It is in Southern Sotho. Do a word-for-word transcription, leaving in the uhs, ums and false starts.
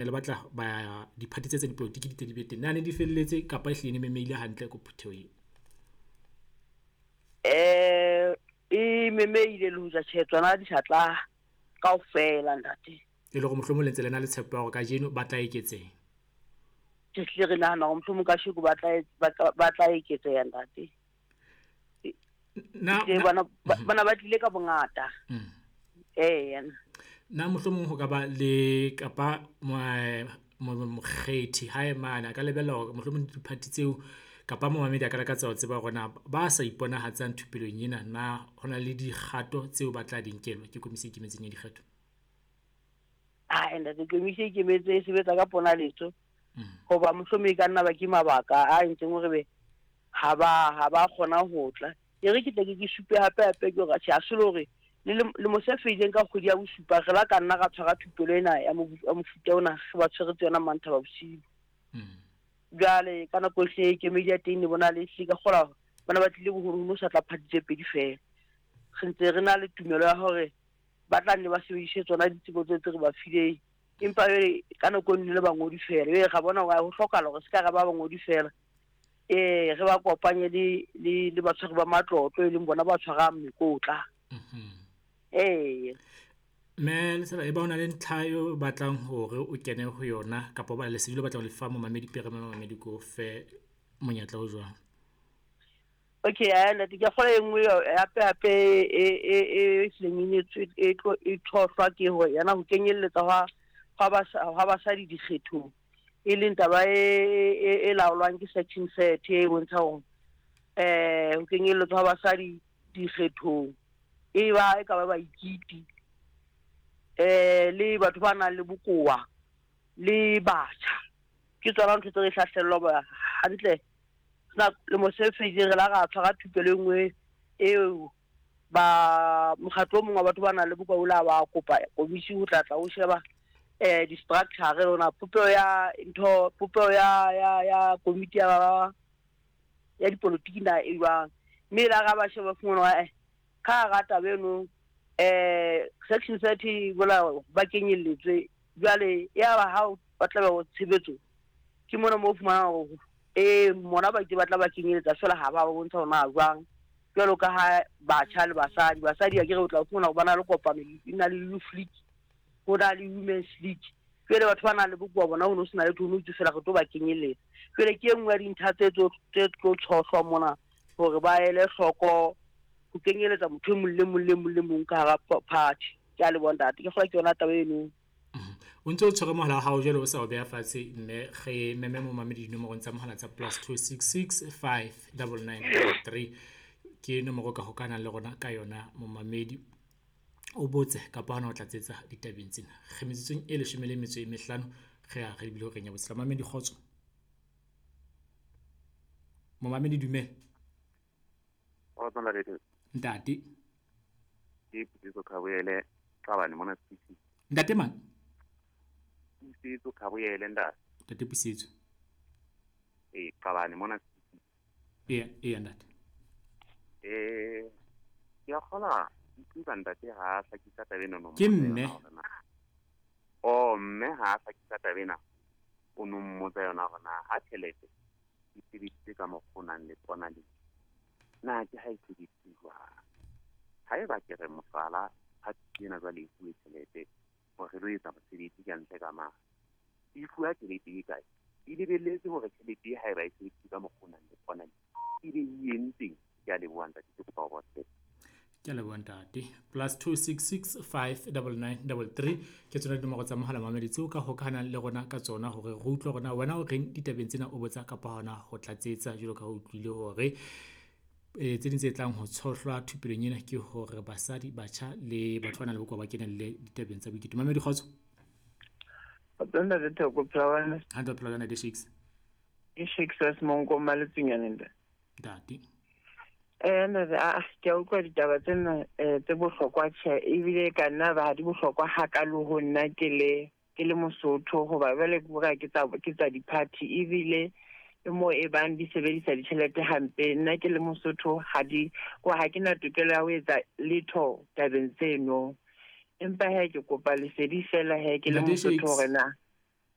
Le batla ba diphathi tse tsa dipolotiki di tle di be teng. Na ne di felletse kapa e hlile ne memeile hantle ko phuthehong eo? Eh e memeile le hoja tjhe tsona di sa tla kaofela ntate. E le hore mohlomong le ntse le na le tshepo ya hore kajeno ba tla eketseha. Ke hlile re nahana hore mohlomong kasheko ba tla ba tla ba tla eketseha ntate. Na Ke bana bana ba tlile ka bongata. Mm. Eh Na mohlomong ho ka ba le kapa mokgethi hae mane a ka lebella hore mohlomong diphathi tseo kapa momamedi a ka lakatsa ho tseba hore na ba sa iponahatsang thupelong ena na ho na le dikgato tseo ba tla di nkelwa ke komisi e ikemetseng ya dikgetho? Ah ntate, komisi e ikemetse e sebetsa ka ponaletso. Mm. Hoba mohlomong e ka nna ba ke mabaka a entseng hore be ha ba ha ba kgona ho tla. E re ke tle ke ke supe hape hape ke hore tjhe, ha se le hore le lemo se fetileng ka kgwedi ya bosupa re la ka nna ra tshwara thupelo ena ya mofuta ona, re ba tshweretse yona Manthaba bosiu. Mm. Jwale ka nako ehle kemedi ya teng ne bona le ehlile ka kgola bana ba tlile boholoholo sa tla party tse pedi feela. Re ntse re na le tumelo ya hore ba tla nne ba sebedise tsona ditsebo tseo tse re ba fileng. Empa jwale ka nako e nngwe le bangodi feela. Jwale ra bona hore ho hlokahala hore se ka ra ba bangodi feela. Eh re ba kopanye le le le batshwari ba matlotlo e leng bona ba tshwarang mekotla. Mhm. Eh Mme Lesela, e ba o na le ntlha eo o batlang hore o kene ho yona kapa ba lesedi le batlang ho lefa momamedi pere momamedi ko fe monyetla o jwang? Okay, a ntate ke kgola e nngwe hape hape e e e hlileng e nyetswe e tlo e tshohlwa ke hore yana ho kenyelletsa hwa hwa ba hwa basadi dikgethong. E leng taba e e e laolwang ke section thirty e bontshang hore eh ho kenyelletswa hwa basadi dikgethong e ba e ka ba baikiti eh le batho ba nang le bokowa le batjha. Ke tsona ntho tse re hlahlellwa ba hantle. Na le mo se fetileng re la ra tshwara thupelo e nngwe eo ba mokgatlo o mong wa batho ba nang le bokowa o la ba kopa komisi ho tla tla ho sheba eh di-structure rona popeho ya ntho popeho ya ya ya komiti ya ya dipolotiki na e jwang. Mme la ra ba sheba fumana hore eh ka hara taba eno eh section thirty bola ba kenyelletswe. Jwale ya ba ha ba tla ba tshebetso ke mona mo fumanang hore eh mona ba itse ba tla ba kenyeletsa feela ha ba bontsha hore na jwang. Jwalo ka ha batjha le basadi, basadi a ke re o tla fumana hore ba na le kopano e na le youth league, ho na le women's league. Jwale batho ba nang le bokowa bona ho no sena letho, ho no itse feela re tlo ba kenyelletsa. Jwale ke e nngwe ya dintlha tse tlo tse tlo tshohlwa mona hore ba ele hloko ho kenyeletsa motho e mong le mong le mong le mong ka hara party. Ke a leboha ntate, ke kgolwa ke yona taba eno. O ntse o tshwere mohala wa hao jwale o sa o beha fatshe mme re meme momamedi dinomorong tsa mohala tsa plus two six six five double nine three ke nomoro ka hokahanang le rona ka yona momamedi. O botse kapa hona o tlatsetsa ditabeng tsena. Re metsotsong e leshome le metso e mehlano re ya re lebile horeng ya botshelela. Momamedi kgotso. Momamedi dumela. Kgotso ntate. Ntate. Ke Pusetso Khaboyele Qabane mona City. Ntate mang? Pusetso Khaboyele ntate. Ntate Pusetso. Eh Qabane mona City. Eya, eya ntate. Eh ke a kgola utlwa ntate ha a hlakisa taba ena no. Ke mme. Oh mme ha a hlakisa taba ena o no mmotsa yona hore na ha tjhelete e sebedisitse ka mokgwa o nang le tsona le na ke ha e sebedisitse jwang. Haeba ke re mohlala ha ena jwale e fuwe tjhelete hore re lo etsa mosebetsi ka ntle ka mane, e fuwa tjhelete e kae? E lebelletse hore tjhelete e haeba e sebedisitse ka mokgwa o nang le tsona le e be e entseng. Ke a leboha ntate, ke kopa ho botsa. Ke a leboha ntate. Plus two six six five double nine double three ke tsona dinomoro tsa mohala mamedi tseo ka hokahanang le rona ka tsona hore re utlwe hore na wena o reng ditabeng tsena o botsa kapa hona ho tlatsetsa jwalo ka ha o utlwile hore eh tse ding tse tlang ho tshohlwa thupelong ena ke hore basadi, batjha le batho ba nang le bokowa ba kenelle ditabeng tsa boiketo. Mamedi kgotso. Kgotso ntate Thoko, phela wena? Hantle, phela wena, Shakes. Ke Shakes wa Semonko Maletsunyane ntate. Ntate. Eh ntate, a ke a utlwa ditaba tsena eh tse bohlokwa tjhe, ebile ka nna ba ha di bohlokwa hakalo ho nna ke le ke le Mosotho, hoba jwale ke bora ke tsa ke tsa di-party ebile e mo e bang di sebedisa ditjhelete hampe. Nna ke le Mosotho ha di ko ha ke na tokelo ya ho etsa letho tabeng tseno. Empa he ke kopa lesedi fela he ke le Ntate Mosotho Shakes. hore na.